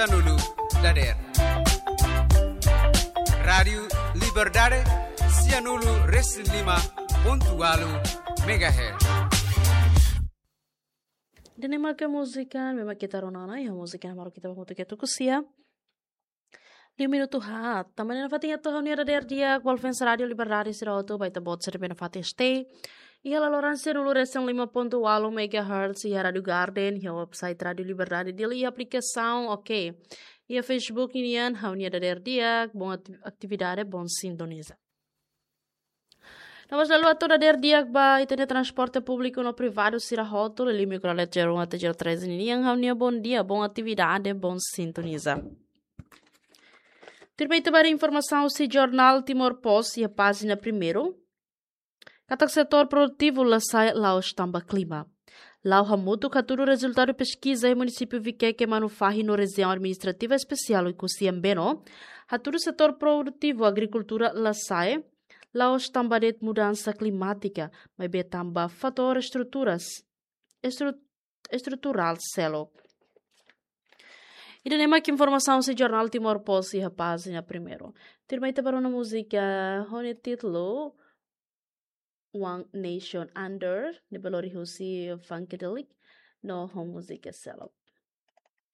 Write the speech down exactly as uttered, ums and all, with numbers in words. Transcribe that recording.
Sianulu dader. Rádiu Liberdade, sianulu resin lima pontu ualu megahertz. Ida-ne'e mak múzika, memang kita ronana ya, múzika yang baru kita mau kita tukusia. Lima minutu haat. Tanba ne'e nafatin atu ha'u-nia dader di'ak ba fans Rádiu Liberdade sira hotu, ba ita-boot sira ne'ebé nafatin stay iha laloran sianulu resin lima pontu ualu megahertz, iha Rádiu Garden, iha website Rádiu Liberdade, Dili, iha aplikasaun, oke. Iha Facebook nian, ha'u-nia dader di'ak, bom ati-, atividade, bom sintoniza. No mós la haluha atu dader di'ak ba ita-nia transporte públiku no privadu sira hotu, liuliu mikrolet zero um até zero três nian, ha'u-nia bom dia, bom atividade, bom sintoniza. Tuirmai ita bá ba informasaun husi jornál Timor Post iha pájina primeiru. Katak setór produtivu la sa'e la'ós tanba klima. La'o hamutuk hatudu rezultadu peskiza iha munisípiu Viqueque, Manufahi no rejiaun administrativa espesiál Oekusi Ambeno, hatudu setór produtivu agrikultura la sa'e la'ós tanba de'it mudansa klimátika, maibé tanba fatór estruturas, estru-, estruturál seluk. Ida-ne'e mak informasaun husi jornál Timor Post iha pájina primeiru. Tuirmai ita bá rona múzika ho nia títulu One Nation Under, ne'ebé lori husi Funkadelic, no ho múzika seluk.